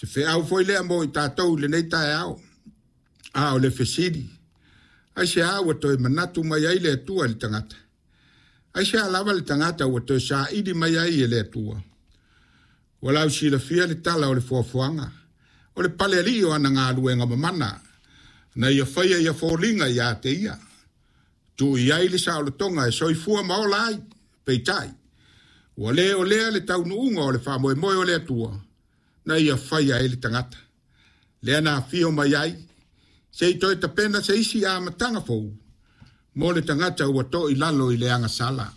Se feau foi lea mo i tatou i lenei taeao. A o le fesili, aisea ua toe manatu mai ai le Atua i le tagata? Aisea lava le tagata ua toe saili mai ai e le Atua? Ua lausilafia le tala o le foafoaga, o le palealii o ana galuega mamana, na ia faia ia foliga ia te ia. Tuu i ai le saolotoga e soifua ma ola ai, peitai, ua le o lea le taunuuga o le faamoemoe o le Atua, na ia faia ai le tagata. Lea na afio mai ai, se i toe tapena se isi amataga fou mo le tagata ua to i lalo i le agasala.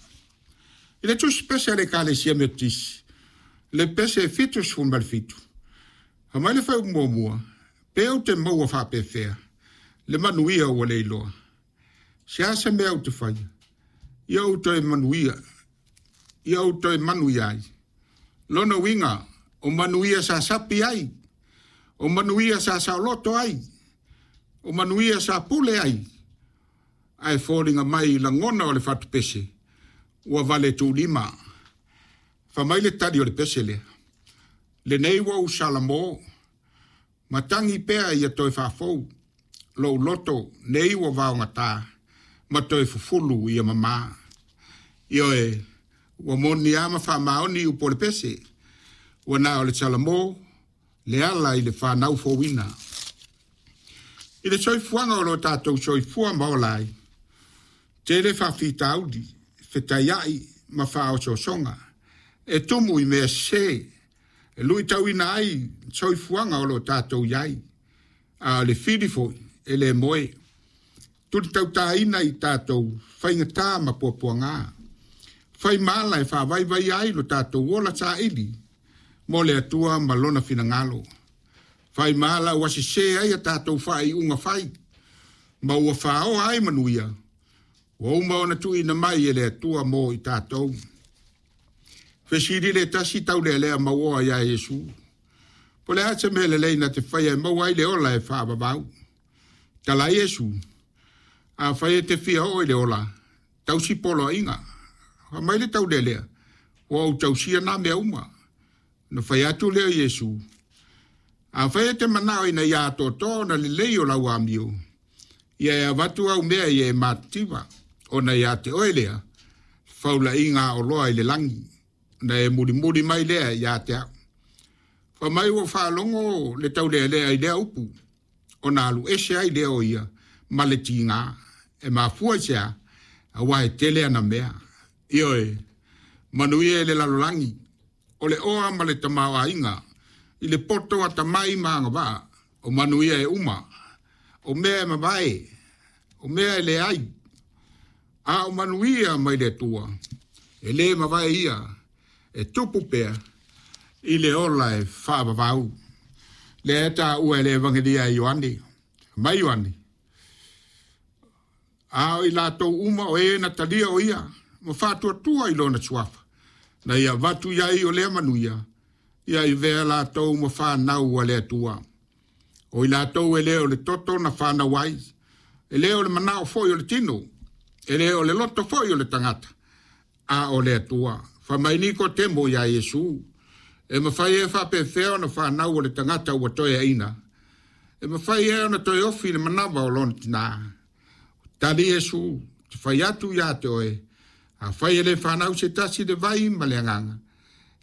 I le tusi pese a le Ekalesia Metotisi, le pese 77, fai mai le fuaiupu muamua, Pe ou te maua faapefea le manuia ua le iloa? Se a se mea ou te faia, ia ou toe manuia, ia ou toe manuia ai? Lona uiga, o manuia sa sapi ai, o manuia sa saoloto ai, o manuia sa pule ai, ae foliga mai i lagona o le fatupese ua vale tuulima. Fai mai le tali o le pese lea, Lenei ua ou salamo, matagi pea ia toe faafou lou loto, nei ua vaogata ma toe fufulu ia mama. Ioe, ua moni lava ma faamaoni upu o le pese, ua na o le salamo le ala i le fanau fouina. I le soifuaga o lo tatou soifua ma ola ai, tele faafitauli, fetaiai ma faaosoosoga e tumu i mea sese e luitauina ai le soifuaga o lo o tatou i ai, a o le fili foi e le moe. Tulitautaina i tatou faigata ma puapuaga. Fai ma ala e faavaivaia ai lo tatou ola saili mo le Atua ma Lona finagalo. Fai ma ala ua sese ai a tatou faaiuga fai, ma ua faoa ai manuia ua uma ona tuuina mai e le Atua mo i tatou. Fesili le tasi taulealea mauoa iā Iesu, Po o le a se mea lelei na te faia e maua ai le ola e faavavau? Tala Iesu, Afai e te fia oo i le ola, tausi poloaiga. Fai mai le taulealea, Ua ou tausia nā mea uma. Ona fai atu lea o Iesu, Afai e te manao ina ia atoatoa ona lelei o lau amio, ia e avatu au mea ia e matitiva, ona ia te oe lea faulaiga aoloa i le lagi, ona e mulimuli mai lea ia te au. Fai mai ua faalogo le taulealea i lea upu, ona alu ese ai lea o ia ma le tiga. E mafua i se a? Aua e tele ana mea. Ioe, manuia i le lalolagi, o le oa ma le tamaoaiga, i le poto atamai ma agavaa, o manuia e uma, o mea e mavae, o mea e leai, a o manuia mai le Atua, e le mavae ia, e tupu pea i le ola e faavavau. Lea e taua e le Evagelia a Ioane, mai Ioane, a o i latou uma o e na talia o ia ma faatuatua i lona suafa, na ia avatu i ai o lea manuia, ia avea latou ma fanau a le Atua. O i latou e le o le toto na fanau ai, e le o le manao foi o le tino, e le o le loto foi o le tagata, a o le Atua. Fai mai Nikotemo iā Iesu, E mafai ea faapefea ona fanau o le tagata ua toeaina? E mafai ea ona toe ofi i le manava o lona tinā? Tali Iesu, Te fai atu iā te oe, afai e le fanau se tasi le vai ma le agaga,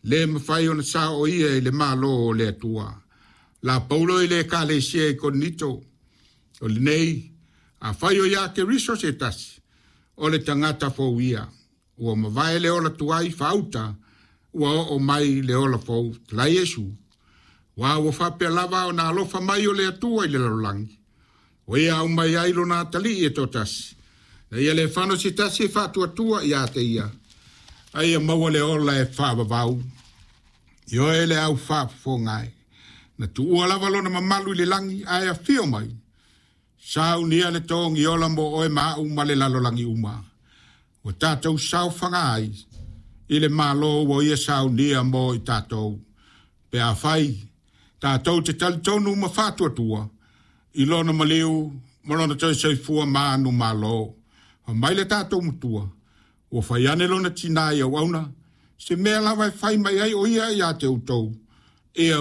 le mafai ona sao o ia i le Malo o le Atua. La Paulo i le Ekalesia i Korinito, o lenei, afai o iā Keriso se tasi, o le tagata fou ia. Ua mavae le ola tuai faauta, ua oo mai le ola fou. La Iesu, Aua ua faapea lava ona alofa mai o le Atua i le lalolagi, o ia aumai ai lona atalii e toatasi, ina ia le fano se tasi e faatuatua ia te ia, a ia maua le ola e faavavau. Ioe le au faafofoga e, na tuua lava lona mamalu i le lagi, ae afio mai, saunia le togi ola mo oe ma au ma le lalolagi uma. Ua tatou saofaga ai i le Malo ua ia saunia mo i tatou, pe afai tatou te talitonu ma faatuatua i lona maliu ma lona toe soifua manumalo. Fai mai le tatou Matua, ua fai ane lona tinā i auauna, se mea lava e fai mai ai o ia ia te outou, ia